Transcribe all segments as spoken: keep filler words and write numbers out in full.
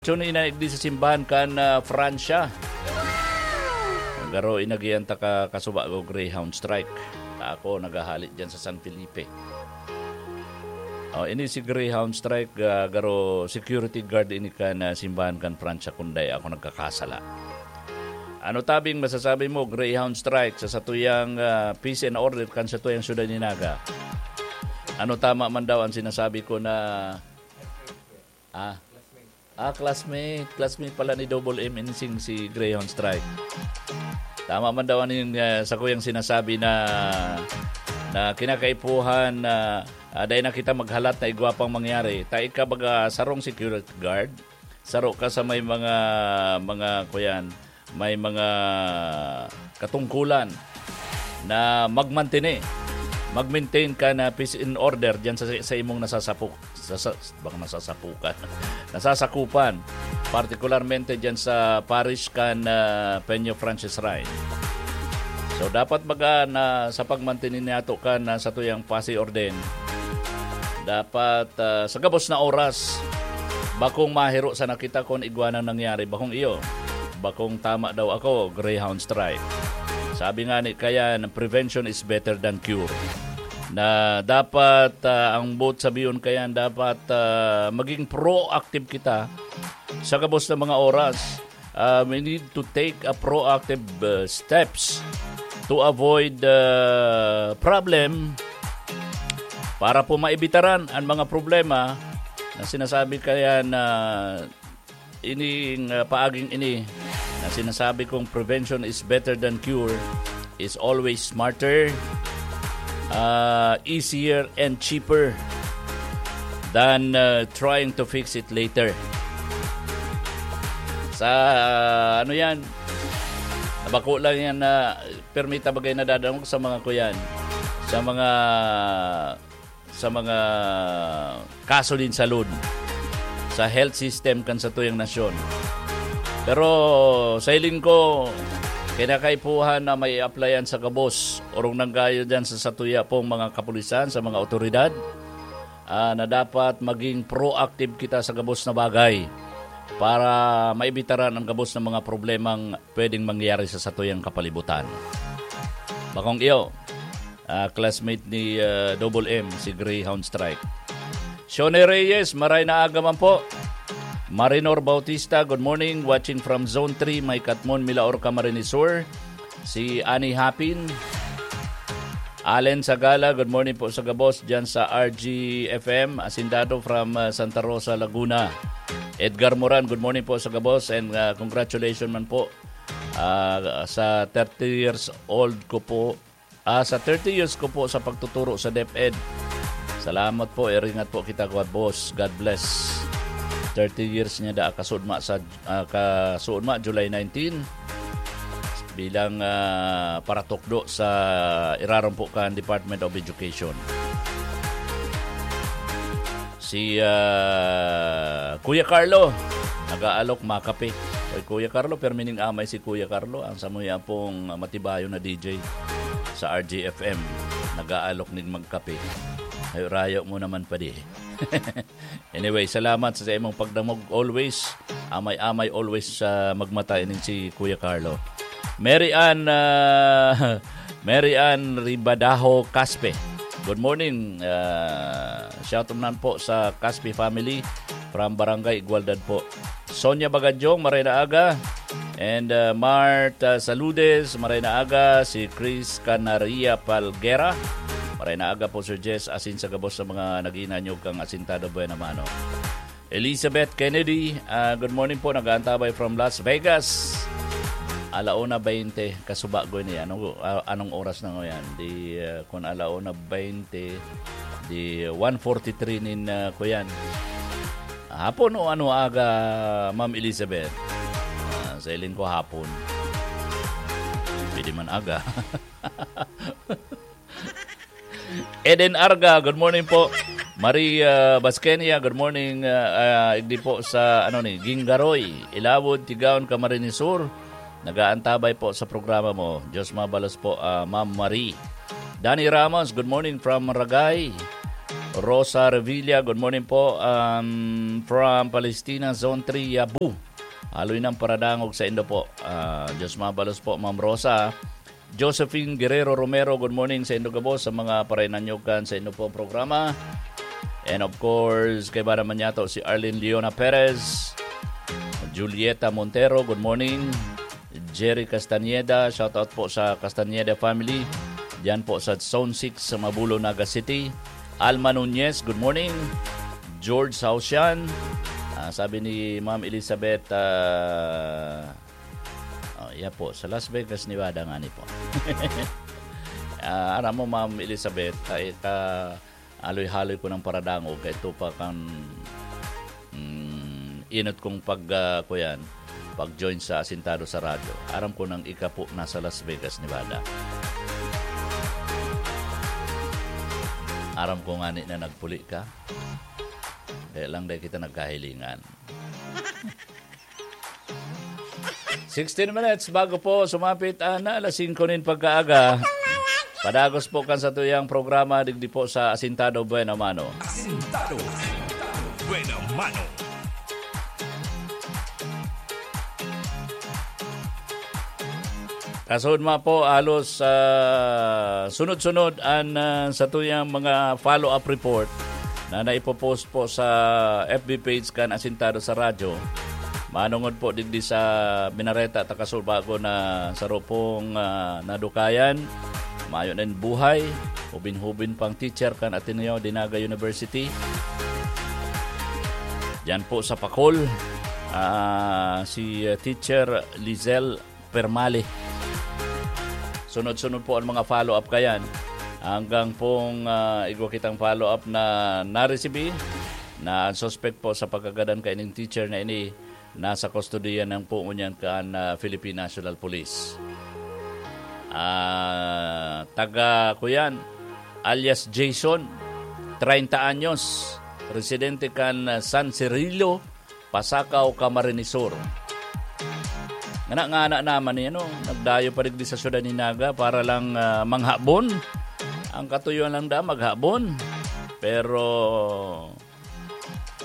Tune in na igdi sa simbahan kan, ah, Francia. Garo inagihan ta ka kasuba ko Greyhound Strike. Ta ako nagahali diyan sa San Felipe. Oh, ini si Greyhound Strike, ah, garo security guard ini kan, ah, simbahan kan Francia, kun dai ako nagkakasala. Ano tabing masasabi mo, Greyhound Strike, sa satuyang, ah, peace and order kan satuyang syudad ni Naga? Ano tama man daw ang sinasabi ko na, ah, ah, classmate, classmate pala ni Double M Insing si Greyhound Strike. Tama man daw ang, ah, sa kuyang sinasabi na, na kinakaipuhan na, ah, dai na kita maghalat na igwa pang mangyari. Ta ika baga sarong security guard, saro ka sa may mga, mga kuyan, may mga katungkulan na magmantene, mag-maintain ka na peace and order diyan sa, sa imong nasasapu-, sa, sa, baka nasasapukan, nasasakupan, partikularmente diyan sa parish kan, ah, Peña Francis Rey. So, dapat baga na sa pagmantene nato kan, ah, satuyang pasi orden, dapat, ah, sa gabos na oras, bakong mahiro sana kita kun igwa nang nangyari, bakong iyo. Bakong tama daw ako, Greyhound Strike. Sabi nga ni kayan, "Prevention is better than cure." Na dapat, ah, ang boot sabiyon kayan, dapat, ah, maging proactive kita sa gabos na mga oras. Ah, we need to take a proactive, ah, steps to avoid, ah, problem para po maibitaran ang mga problema na sinasabi kayan na ining, ah, paaging ini na sinasabi kong prevention is better than cure is always smarter, ah, easier and cheaper than, ah, trying to fix it later. Sa, ano yan, bako lang yan na permita bagay na dadangog sa mga kuyan, sa mga sa mga kaso din sa loan sa health system kan satuyang nasyon. Pero sa hiling ko, kinakaipuhan na may applyan sa gabos, orong nanggayo dyan sa satuya pong mga kapulisan, sa mga otoridad, ah, na dapat maging proactive kita sa gabos na bagay para maibitaran ang gabos na mga problemang pwedeng mangyari sa satuyang kapalibutan. Bakong iyo, ah, classmate ni, ah, Double M, si Greyhound Strike. Shone Reyes, maray na aga man po. Marinor Bautista, good morning. Watching from Zone three, may Katmon, Milaor, Camarines Sur. Si Annie Hapin. Allen Sagala, good morning po sa gabos dyan sa R G F M. Asindado from, ah, Santa Rosa, Laguna. Edgar Moran, good morning po sa gabos and, ah, congratulations man po, ah, sa thirty years old ko po. Ah, sa thirty years ko po sa pagtuturo sa DepEd. Salamat po, iringat po kita, God boss. God bless. Thirty years niya da kasudma sa, ah, kasudma, July nineteen, bilang, ah, paratukdo sa irarom po kan Department of Education. Si, ah, Kuya Carlo, nag-aalok makape. Oy, Kuya Carlo, permining amay si Kuya Carlo, ang samuya pong matibayo na D J sa R G F M. Nag-aalok ning magkape. Ay, rayo mo naman pa di. Anyway, salamat sa imong pagdamog always. Amay-amay always sa magmata ining si Kuya Carlo. Mary Ann, ah, Mary Ann Ribadaho Caspe. Good morning. Ah, shout out naman po sa Caspe family from Barangay Igualdad po. Sonia Bagadyong, maray na aga. And, ah, Martha Saludes, maray na aga. Si Chris Canaria Palguera, maray na aga po, Sir Jess. Asin sa gabos sa mga nag-iinanyog kang asintado buena mano. Elizabeth Kennedy, ah, good morning po. Nag-aantabay from Las Vegas. Alauna baynte, kasuba ko ini. Ano, ah, anong oras na ngayon? Di, ah, kung alauna baynte, di one forty-three nin, ah, kuyan. Hapon o ano aga, Ma'am Elizabeth? Ah, sa hiling ko hapon. Pwede man aga. Eden Arga, good morning po. Maria Basquenia, good morning. Ah, ah, igdi po sa, ano ni, Gingaroy, Ilawod, Tigaon, Camarines Sur. Nag-aantabay po sa programa mo. Diyos mabalos po, ah, Ma'am Marie. Danny Ramos, good morning from Ragay. Rosa Revilla, good morning po. Um, from Palestina, Zone three, Yabu. Haloy ng paradangog sa indo po. Ah, Diyos mabalos po, Ma'am Rosa. Josephine Guerrero Romero, good morning sa indo gabos, sa mga parainanyog kan sa indo pong programa. And of course, kaiba naman niya to, si Arlene Leona Perez, Julieta Montero, good morning. Jerry Castañeda, shoutout po sa Castañeda family. Diyan po sa Zone six sa Mabulo, Naga City. Alma Nunez, good morning. George Hausian, ah, sabi ni Ma'am Elizabeth, ah, oh, iya po, sa Las Vegas, Nevada nga ni po. Ah, aram mo, Ma'am Elizabeth, ay ka, aloy-haloy ko ng paradangog, kay ito pa kan, mm, inot kong pag, ah, kuyan, pag-join sa Asintado sa Radyo. Aram ko nang ika po nasa Las Vegas, Nevada. Aram ko nga ni na nagpuli ka. Kaya lang dahil kita nagkahilingan. Sixteen minutes bago po sumapit ang alas singko nin pagkaaga. Padagos po kan satuyang programa digdi po sa Asintado Buena Mano. Asintado Buena Mano. Kasunod ma po, halos, ah, sunod-sunod an, ah, satuyang mga follow-up report na naipopost po sa F B page kan Asintado sa Radyo. Manongod po digdi sa Minareta, Takasulbago na saro pong, ah, nadukayan. Mayo na yung buhay. Hubin-hubin pang teacher kan Ateneo de Naga University. Diyan po sa Pacol, ah, si, ah, Teacher Lizelle Permale. Sunod-sunod po ang mga follow-up kayan. Hanggang pong, ah, igwa kitang follow-up na naresibi na ang suspect po sa pagkagadan kaining teacher na ini nasa kustodiya ng po ngunyan kan, ah, Philippine National Police. Ah, taga, kuyan, alias Jason, treinta anyos, residente kan, ah, San Cirilo, Pasacao, Camarines Sur. Ngana nga anak naman ni, ano, nagdayo pa digdi sa syudad ni Naga para lang, ah, manghabon. Ang katuyoan lang da, maghabon. Pero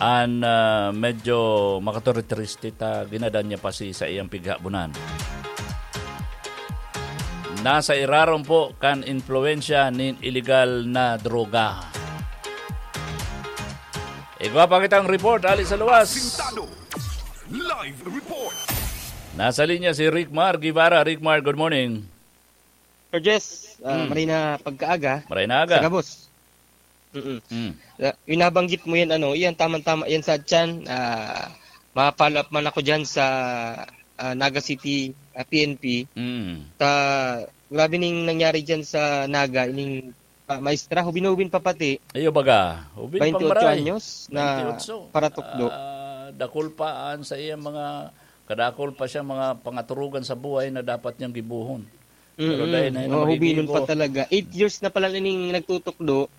an, ah, medyo makaturitriste ta, ginadan niya pa si sa iyang pighabonan. Nasa irarom po kan impluwensya nin iligal na droga. Igwa pa kitang report, ali sa luwas. Asintado. Live report. Nasa linya si Rick Mar Guevara. Rick Mar, good morning. Sir Jess, ah, Mm. maray na pagkaaga. Maray na aga. Sa gabos. Mm-mm. Mm. Ah, yung nabanggit mo yan, ano, yan, tamang-tama yan sa tiyan. Ah, ma-follow up man ako dyan sa, ah, Naga City, ah, P N P. Mm. Sa, grabe ning nangyari dyan sa Naga, ining, ah, maestra, hubin-hubin pa pati. Iyo baga, hubin pang Bainti otso maray. Anyos na Bainti otso. Paratukdo. Ah, dakul pa an sa iya mga, kadakul pa siya mga pangaturugan sa buhay na dapat niyang gibohon. Pero Mm-mm. dahil na yun, Mga hubinun pa magiging talaga. Eight years na pala ining nagtutukdo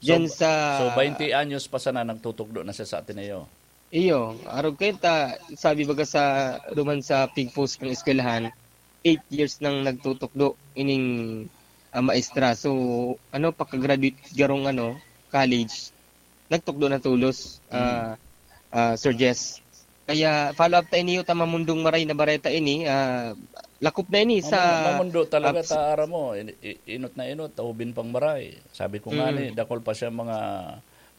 dyan So, sa so, bainti anyos pa sana nagtutukdo na siya sa Ateneo. Iyo, arog kayo ta, sabi baga sa, duman sa pigpost ng eskwelahan, eight years nang nagtutukdo ining, ah, maestra. So, ano, pagka-graduate garong, ano, college, nagtukdo na tulos, Mm. ah, ah, Sir Jess. Kaya follow up ta ini, ta mamundong maray na bareta ini, ah, lakop na ini Mamun-, sa mamundo talaga apps. Ta, aram mo, in-, i-, inot na inot, ta hubin pang maray. Sabi ko nga Mm. ni, dakol pa siya mga,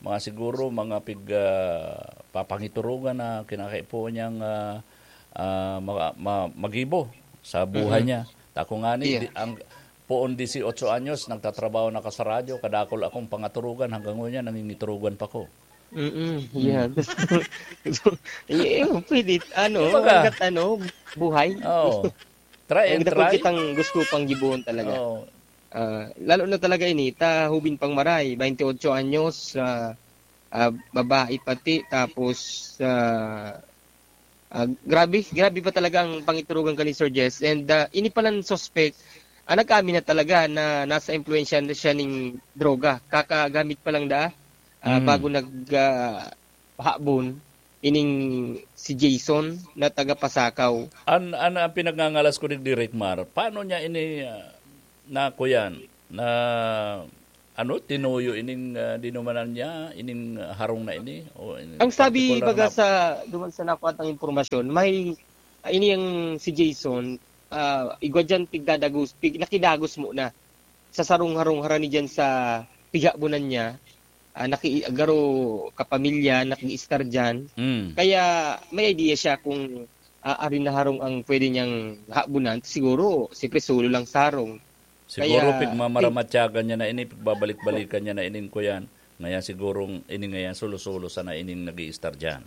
mga siguro, mga pig, ah, papangiturugan na kinakaipuhan niyang, ah, ah, ma-, ma-, magibo sa buhay Mhm. niya. Ta ako nga ni, Iya. di, ang, poon disiotso anyos, nagtatrabaho na ka sa radyo, kadakol akong pangaturugan, hanggang ngunyan, nangingiturugan pa ko. Mm-mm, Mm. yan. So, eh, eh, pwede, ano, Kumbaga, hanggat ano, buhay. Oo. Try and Hanggat ako try. kitang gusto pang gibohon talaga. Oo. Ah, lalo na talaga ini, ta hubin pang maray, bainti otso anyos, ah, ah, babae pati, tapos, ah, ah, grabe, grabe pa talaga ang pangiturugan ka ni Sir Jess. And, ah, ini palang suspect, ah, nag-amin na talaga na nasa impluwensya na siya ning droga. Kakagamit pa lang daa, ah, Mm. bago nag, ah, habon, ining si Jason na taga Pasakaw. An, an, ang pinagngangalas ko digdi, Rick Mar, paano niya ini, ah, na kuyan, na, ano, tinuyo ining, ah, dinumanan niya, ining, ah, harong na ini? O in Ang sabi, partikular baga, na sa, duman sa nakuha tang impormasyon, may, ah, ini ang si Jason, ah, igwa diyan pigdadagos, pig-, nakidagos muna sa sarong harong harani diyan sa pighabonan niya. Ah, naki-, garo kapamilya, nag-i-star diyan. Mm. Kaya may idea siya kung, ah, arin na harong ang pwede niyang habonan. Siguro, siyempre, solo lang sa harong. Siguro Kaya, pigmamaramatyagan niya na ini, pigbabalik-balikan niya na ining kuyan. Ngayon sigurong ini ngayon solo-solo sana ining nag-i-star diyan.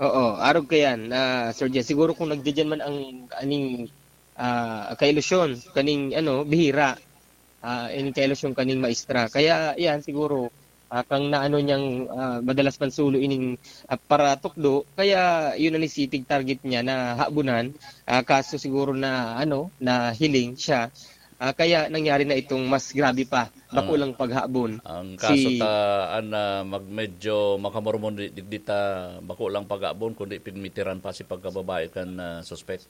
Oo, arog ka yan, ah, Sir Jess. Siguro kung nagdidiyan man ang aning, ah, kailusyon, kaning ano, bihira, ah, ining kailusyon kaning maestra. Kaya yan, siguro, ah, kang naano niyang, ah, madalas man sulo ining, ah, paratukdo, kaya yun ang nisitig target niya na habunan. Ah, kaso siguro na, ano, na hiling siya. Ah, kaya nangyari na itong mas grabe pa, bako Ang lang paghabon. Ang kaso Si ta, an, ah, mag-, medyo makamormon di, digdi ta bako lang paghabon, kundi pigmitiran pa si pagkababae kan, ah, suspek.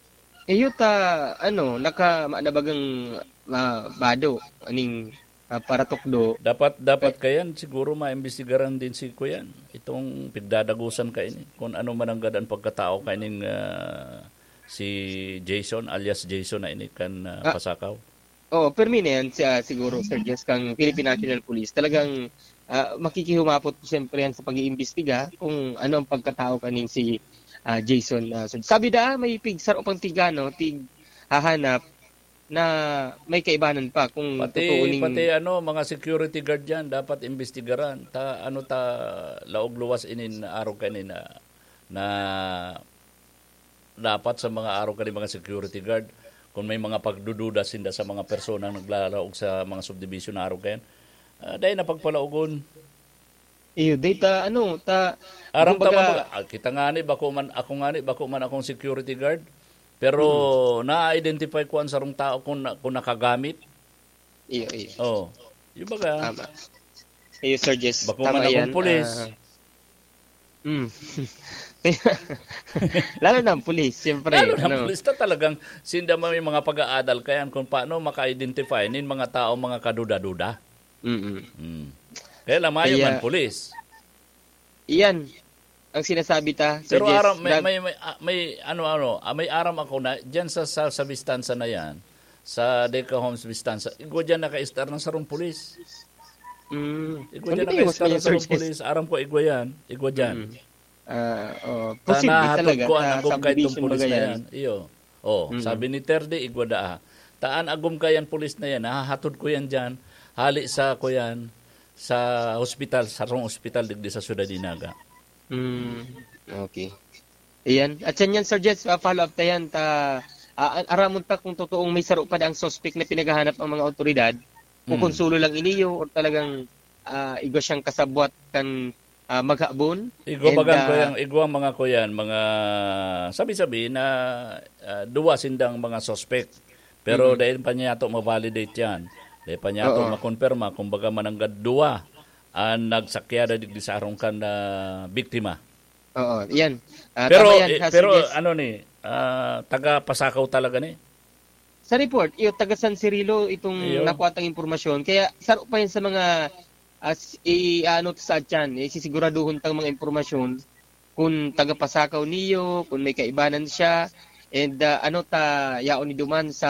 Iyo ta, ano, naka, na bagang, ah, bado, aning, ah, paratukdo. Dapat, dapat Ay. kayan, siguro maimbestigaran din si kuyan. Itong pigdadagusan ka ini. Kung ano man ang gadaan pagkatao ka ining, ah, si Jason, alias Jason na ini kan, ah, Ah. Pasakaw. Oo, permi na yan siya siguro, Sir Jess, kang Philippine National Police. Talagang, ah, makikihumapot siyempre yan sa pag-iimbestiga kung ano ang pagkatao kaning si, ah, Jason. Ah, so, sabi da, may pig, saro pang tig, ano, tig hahanap na may kaibanan pa kung Pati, totoo ning pati ano, mga security guard yan, dapat imbestigaran. Ta, ano ta, laog luwas inin arog kanina na dapat sa mga arog kani mga security guard, kung may mga pagdududa sinda sa mga personang naglalaog sa mga subdivision na arog kayan, ah, dai na pagpalaogon. Iyo, dai ta, ano, ta, Aram ta kumbaga man, ah, kita nga ni, bako man, ako nga ni, bako man akong security guard, pero Mm. na-identify ko ang sarong tao kung na, kung nakagamit. Iyo, iyo. Oh, yung baga, Tama. Iyo, Sir Jess. Bako Tama man akong yan. pulis. Ah, mm. Lalo na ang pulis, siyempre, Lalo na ang ano. pulis na talagang sinda may mga pag-aadal kayan kung paano maka-identify nin mga tao, mga kaduda-duda. Mm-mm. Mm. Kaya lang, mayo Kaya man, pulis. Iyan ang sinasabi ta, Sir Pero Jess. aram, may, Nag- may, may, ah, may, ano, ano, ah, may aram ako na, dyan sa, sa, sa Vistanza na yan, sa Deca Homes Vistanza, igwa dyan naka-star ng sarong pulis. Mm. Igwa Hindi dyan kayo mas naka-star ng mayor, Sir sarong Jess. pulis. Aram ko, igwa yan. Igwa dyan. Mm. Ah, oh, Ta posible nahatod talaga ko an sa agom kay itong subdivision pulis baga na yan. yan. Iyo. Oh, Mm. sabi ni Terde, igwa daa. Taan agom kay an pulis na yan, nahahatod ko yan dyan. Hali sa ko yan sa hospital, sarong hospital digdi sa Ciudad de Naga. Mm. Okay. Ayan. At yan yan, Sir Jess, ah, follow up ta yan. Ta, ah, aramon ta kung totoong may saro pa ang suspect na pinaghahanap ang mga otoridad. Kung Mm. konsulo lang iniyo o talagang, ah, igwa siyang kasabwat kan, ah, maghabon. Igwa And, bagang ah, kuyang, igwa mga kuyan, mga sabi-sabi na, ah, duwa sindang mga suspect. Pero Mm. dai pa niya to ma-validate yan. Dai pa niya to Oo. makonpirma. Kumbaga, mananggad duwa ang nagsakyada digdi sa arong kan, ah, biktima. Oo, yan. Ah, Pero, tama yan, eh, ha, pero Sir Jess. ano ni, ah, taga Pasakaw talaga ni? Sa report, iyo, taga San Cirilo itong Iyo. nakuha tang impormasyon. Kaya saro pa yan sa mga, as, i-, ano sa atyan, isisiguraduhon tang mga impormasyon kung taga Pasakaw niyo, kung may kaibanan siya, and, ah, ano ta, yaon ni duman sa,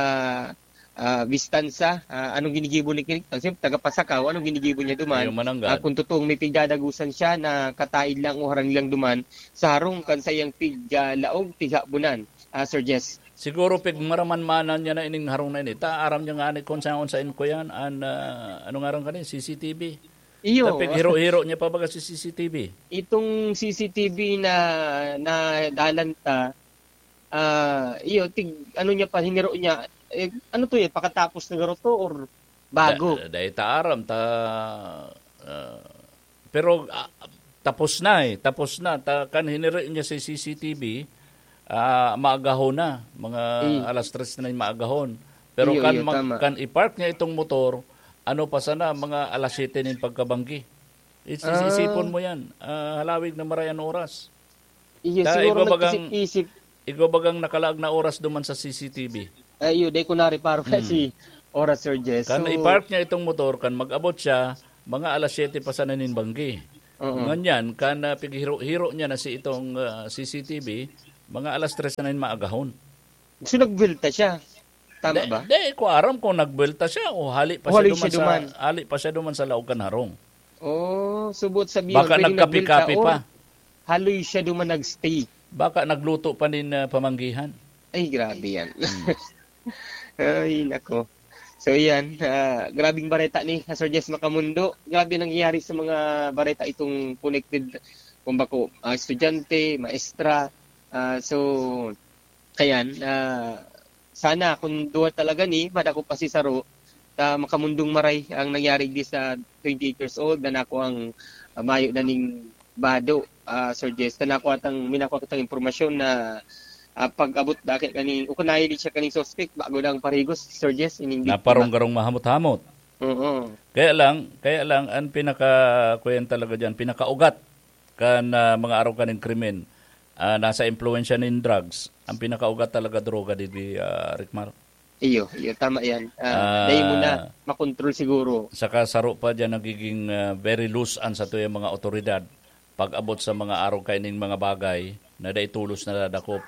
ah, Vistanza, ah, anong ginigibo ni Kinik? Kasi taga Pasakaw, anong ginigibo niya duman? Iyo, mananggad. Ah, kung totoong may pigdadagusan siya na kataid lang o harang lang duman sa harong kan saiyang pig, ah, laog, pighabunan, ah, Sir Jess. Siguro pigmaramanmanan niya na ining harong na ini. Ta, aram niya nga ni kung saan, saan ko yan, an, ah, ano nga ron kani? C C T V. Iyo. Ta pighiro-hiro niya pa baga si C C T V. Itong C C T V na, na dalan ta, ah, iyo, tig-, ano niya pa, hiniro niya, eh, ano to eh, pakatapos na garo to or bago? Da-, dai ta aram, ta, ah, pero, ah, tapos na eh, tapos na. Ta, kan hiniri niya sa C C T V, ah, maagahon na, mga Mm. alas tres na yung maagahon. Pero Iyo, kan iyo, mag-, tama. kan i-park niya itong motor, ano pa sana, mga alas siyete nin pagkabanggi. Is-, is-, Ah. isipon mo yan, ah, halawig na maray an oras. Iyo, Ta, siguro igwa bagang, nagkisip-isip. igwa bagang nakalaag na oras duman sa C C T V. Ay, iyo, dai ko nareparo Hmm. si oras, Sir Jess. Kan So, i-park niya itong motor, kan mag-abot siya, mga alas siyete pa sana nin banggi. Oo. Nganyan, kan, ah, pighiro-hiro niya na si itong, ah, C C T V, mga alas tres na nin maagahon. So, nagbuwelta siya. Tama Di, ba? di ko aram kung nagbuwelta siya o hali pa O siya hali duman siya sa, duman. hali pa siya duman sa laog kan harong. Oh, subot sabihin, Baka pwedeng nagkape-kape nagbuwelta pa. or haloy siya duman nag-stay. Baka nagluto pa nin, ah, pamanggihan. Ay, grabe yan. Hmm. Ay, nako. So, yan. Ah, grabing bareta ni Sir Jess Macamundo. Grabe nangyayari sa mga bareta itong connected, kung bako, ah, estudyante, maestra. Ah, so, kayan, ah, sana kung duwa talaga ni, madako pa si saro, ta makamundong maray ang nangyari di sa twenty-eight years old, na nako ang, ah, mayo na ning bado, ah, Sir Jess, na nako atang, minako atang impormasyon na, ah, pag-abot dake kaning, o kung nahiling siya kaning suspect, bago lang parigos, Sir Jess, ining biktima. Naparunggarong mahamot-hamot. Oo. Kaya lang, kaya lang, ang pinaka, kuyan talaga dyan, pinakaugat kan, ah, mga araw kaning krimen, ah, nasa impluwensya nin drugs, ang pinakaugat talaga droga, di, di, ah, Rickmar. Iyo, iyo, tama yan. Ah, Ah, dahil mo na makontrol siguro. Saka saro pa dyan nagiging, ah, very loose an satuyang mga otoridad pag-abot sa mga araw kaining mga bagay na dai tolos nadadakop.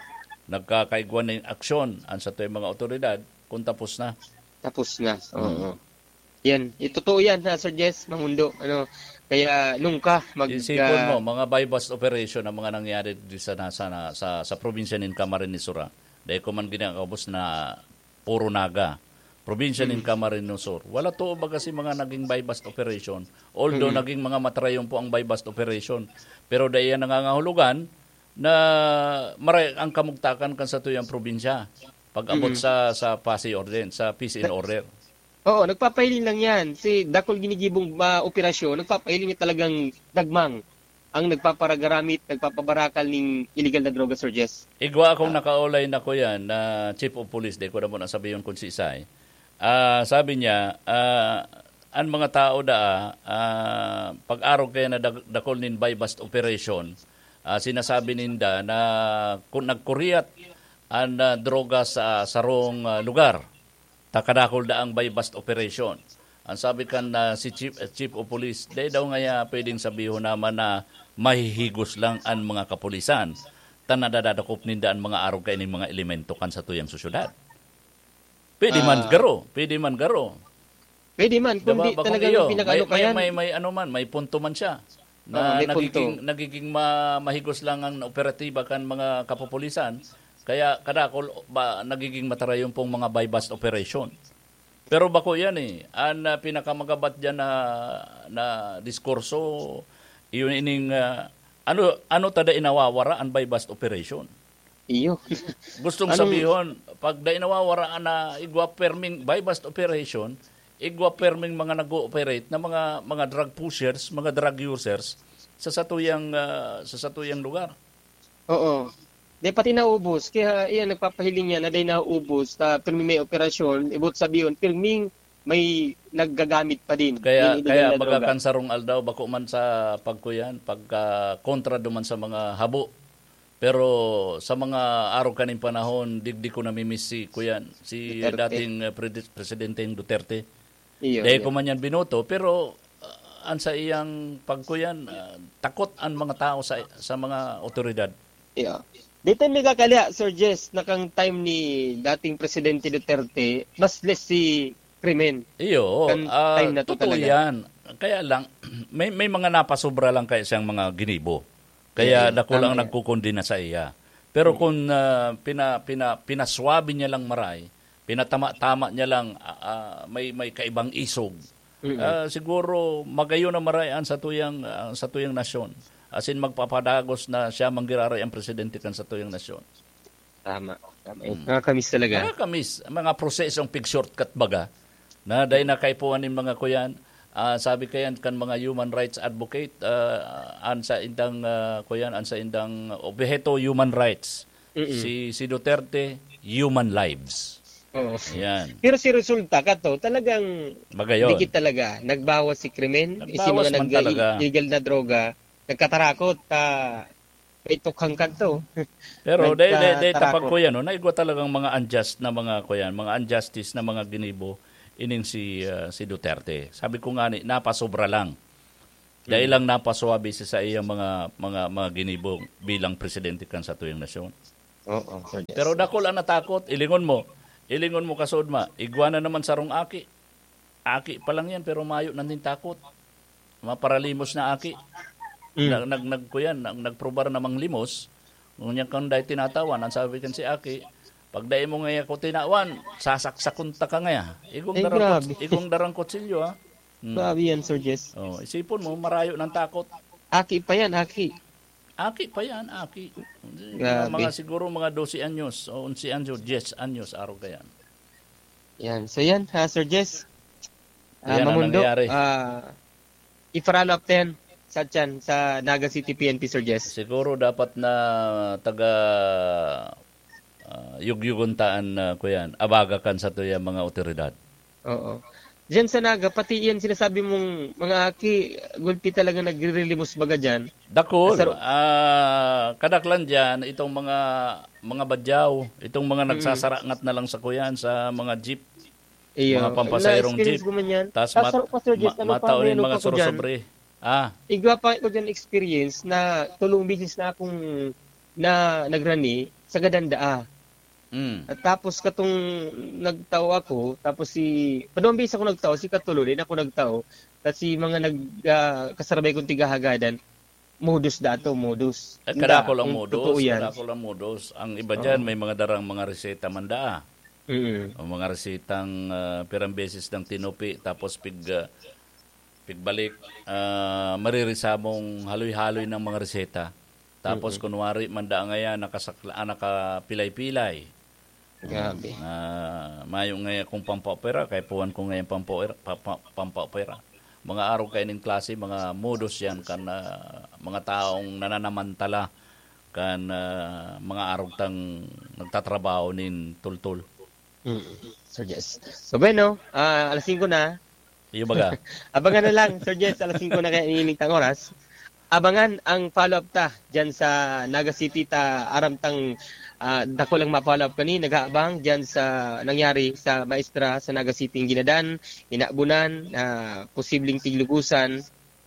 Nagkakaigwa nin aksyon an satuyang mga otoridad kung tapos na. Tapos na, Mm. oo. Yan, eh, totoo yan, ha, Sir Jess, Mamundo. Ano, kaya nung ka mag, Isipon ah, mo, mga buy-bust operation ang mga nangyari di sa, na, sa, na, sa, sa probinsya nin Camarines Sur, ah. Dahil ko man ginagabos na puro Naga. Probinsya nin Mm. Camarines Sur. Wala to, baga si mga naging buy-bust operation. Although Mm. naging mga matrayon po ang buy-bust operation. Pero dahil yan nangangahulugan na maray ang kamugtakan kan satuyang probinsya. Pag-abot Mm. sa, sa P A S I ordinance, sa peace and Na- order. Oo, nagpapahiling lang yan. Si dakul ginigibong, ah, operasyon, nagpapahiling niya talagang dagmang ang nagpaparagaramit, nagpapabarakal ning illegal na droga, Sir Jess. Igwa akong Ah. nakaulay na kuyan na chief of police, di ko na muna sabihon kung si Isay. Ah, sabi niya, ah, an mga tao daa, ah, pag-arog kaya na dag-, dakul nin buy-bust operation, ah, sinasabi ninda na kun nagkuriyat an, ah, droga sa sarong, ah, lugar, ta kadakul daang buy-bust operation. Ang sabi kan, ah, si Chief, eh, Chief of Police, dai daw ngaya pwedeng sabihon naman na mahihigos lang an mga kapulisan, ta nadadadakop ninda an mga arog kaining mga elemento kan satuyang sosyedad. Pwede man Ah. garo, pwede man garo. Pwede man, Diba? kundi Bakong talagang iyo, pinag-ano may, ka may, yan. may, may ano man, may punto man siya. Oo, Na may punto. nagiging, nagiging ma-, mahigos lang ang operatiba kan mga kapupulisan, kaya kadakol ba nagiging matarayon pong mga buy-bust operation. Pero bako yan eh, ang, ah, pinakamagabat dyan na, na diskurso, yun ining, ah, ano, ano tada inawawara ang buy-bust operation? Iyo. Gustong Anong sabihon, pag dai nawawara na igwa perming buy-bust operation, igwa perming mga nag-ooperate na mga, mga drug pushers, mga drug users sa satuyang, ah, sa satuyang lugar. Oo. Di pati naubos. Kaya iyan, nagpapahiling yan na di naubos. Ta, pirmi may operasyon, ibot sabihon, pirming may naggagamit pa din Kaya, nin illegal kaya na baga droga. kan sarong aldaw, bako man sa pagkuyan, pagka kontra duman sa mga habo. Pero sa mga araw kaning panahon, digdi ko namimiss si kuyan, si Duterte. dating, eh, Prede-, Presidenteng Duterte. Iyo, Dahil iyo. ko man yan binoto, pero, ah, an sa iyang pagkuyan, ah, takot ang mga tao sa, sa mga otoridad. Iyo. Dito may kakaliya, Sir Jess, na kang time ni dating Presidente Duterte, mas less si krimen. Iyo, Kan ah, time na to totoo talaga. yan. Kaya lang, may, may mga napasobra lang kaya siyang mga ginibo. Kaya Iyo, dakul tama ang yan. nagkukondena sa iya. Pero Mm. kung, ah, pina-, pina-, pinaswabe niya lang maray, pinatama-tama niya lang, ah, ah, may, may kaibang isog, Mm. ah, siguro magayon na maray ang satuyang, ang satuyang nasyon. As in, magpapadagos na siya manggiraray ang presidente kan satuyang nasyon. Tama, tama. Mm. Nakakamiss talaga. Nakakamiss. Ang mga prosesong pig-shortcut baga, na dahil nakaipuhan nin mga kuyan, ah, sabi kayan kan mga human rights advocate, ah, an sa indang, ah, kuyan, an sa indang obheto, human rights. Mm-mm. Si, si Duterte, human lives. Oo. Yan. Pero si resulta kato, talagang Magayon. dikit talaga. Nagbawas si krimen, si Nagbawas mga man nag-, talaga. illegal na droga, nagkatarakot, ta, may tukhang kanto. Pero dahil, dahil, dahil Nagkatarakot. tapag ko yan, no, naigwa talagang mga unjust na mga, kuyan, mga injustice na mga ginibo. ining si, ah, si Duterte. Sabi ko nga ni, napasobra lang. Dai Mm. lang napaswabe sa saiyang mga, mga, mga ginibo bilang presidente kan satuyang nasyon. Oo, Sir Jess. Pero dakul ang natakot, ilingon mo. Ilingon mo, kasudma, igwa na naman sarong aki. Aki pa lang yan, pero mayo na nin takot. Maparalimos na aki. Mm. Nag-, nag-, nag-, kuyan, nag-, nagprobar na manglimos. Ngunyan kang dai tinatawan, ang sabi kan si aki, "Pag dai mo ngaya ko tinawan, sasaksakon ta ka ngaya." Igong Eh, darang grabe. kuts-, igong darang kutsilyo, ha? Hmm. Grabe yan, Sir Jess. Oh, isipon mo, marayo ng takot. Aki pa yan, aki. Aki pa yan, aki. Grabe. Mga siguro mga dose anyos, o onse anyos, diyes anyos, araw ka yan. Yan. So yan, ha, Sir Jess. Ah, Yan ang Mamundo, nangyari. ah, i-follow up din sa tiyan, sa Naga City P N P, Sir Jess. Siguro dapat na taga, ah, yugyugon taan na, kuyan, abagakan sa tuya mga otoridad. Oo. Diyan sa Naga, pati yan sinasabi mong mga aki, gulpi talaga nagre-relimos baga dyan. Dakul. Sa ro- Ah, kadaklan dyan, itong mga, mga badyaw, itong mga Mm. nagsasarangat na lang sa kuyan, sa mga jeep, Iyo. mga pampasaherong Na-experience jeep. ko man yan. Tas Tas mat-, sa Pastor Jess, ma-, ano pa, matao nin may ano mga pa ko dyan? surosobre. Ah. Igwa pa ko dyan experience na tulong bisis na akong na nagrani sa Gadandaa. Mm. At tapos katong nagtao ako, tapos si, padong bis ako nagtao, si Katulo, din ako nagtao, tas si mga nag, ah, kasarabay kong tigahagadan, modus dato, modus. Eh, Hindi, kadakol ang kung modus, totoo yan. kadakol ang modus. Ang iba dyan, Oo. may mga darang mga reseta man daa. Mm. Ang mga resetang, ah, pirang beses ng tinupi, tapos pig, ah, pigbalik, ah, maririsamong haloy-haloy ng mga reseta. Tapos, Mm. kunwari, manda ngayon, nakasakla-, ah, nakapilay-pilay. Grabe. Ah, mayo ngayon kung pampaopera, kaya puwan ko ngayon pampaopera, pa-, pa-, pampaopera. Mga arog kayo ning klase, mga modus yan, kan, ah, mga taong nananamantala, kan, ah, mga arog tang nagtatrabaho nin tultol. Mm. So, yes. So, bueno, ah, alas singko na. Iyo baga. Abangan na lang, Sir Jess, alas singko na kaya iniinit ang oras. Abangan ang follow-up ta dyan sa Naga City ta aram tang, ah, dako lang ma-follow-up kani, nag-aabang dyan sa nangyari sa maestra sa Naga City, ang ginadan, inabunan, ah, posibleng tiglugusan,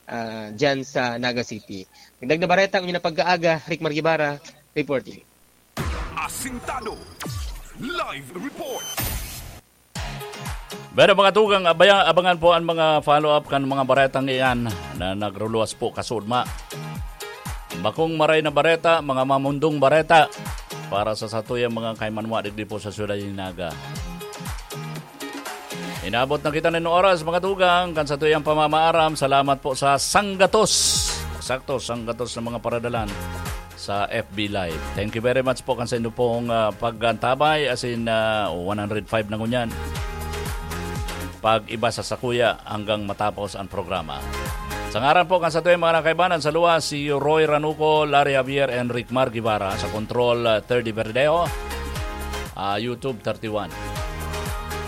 ah, dyan sa Naga City. Dagdag na bareta, ang inyong pag-aaga, Rick Margibara, reporting. Asintado. Live report. Pero mga tugang, abaya-, abangan po ang mga follow-up kan mga baretang iyan na nagruluwas po kasudma. Bakong maray na bareta, mga mamundong bareta para sa satuyang mga kaimanwa digdi po sa Syudad ni Naga. Inabot na kita nin oras, mga tugang, kan satuyang pamamaaram. Salamat po sa sanggatos. Sakto, sanggatos na mga paradalan sa F B Live. Thank you very much po kan sa inyo pong, ah, pag-antabay, as in, ah, one hundred five na ngunyan. Pag-iba sa sakuya hanggang matapos ang programa. Sa ngaran po kan satuyang mga nakaibanan sa luwas, si Roy Ranuco, Larry Javier, Enric Mar Guevara, sa Control, ah, thirty Verdeo, ah, YouTube thirty-one.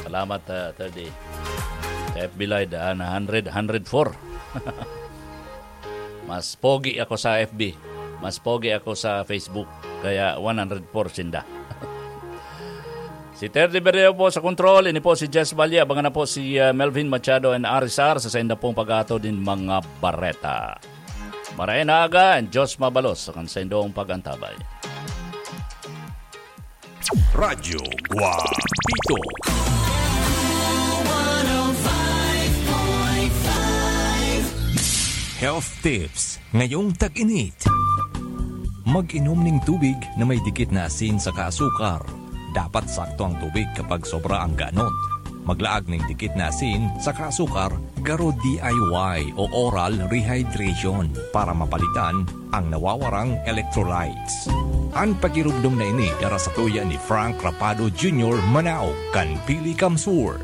Salamat, ah, thirty. Sa F B Live, ah, na hundred, hundred four. Mas pogi ako sa F B. Mas pogi ako sa Facebook. Kaya one hundred four sinda. Si Terry Berreo po sa control. Ini po si Jess Valle. Abangan na po si, uh, Melvin Machado and Arisar sa sainda pong pag-ato din mga bareta. Maray na aga and Diyos mabalos sa kan saindong pag-antabay. Radyo Guapito. Health tips ngayong tag-init. Mag-inom ning tubig na may dikit na asin saka asukar. Dapat sakto ang tubig kapag sobra ang ganot. Maglaag ning dikit na asin saka asukar, garo D I Y o oral rehydration para mapalitan ang nawawarang electrolytes. An pagirumdom na ini dara sa tuya ni Frank Rapado Junior Manao kan Pili Kamsur.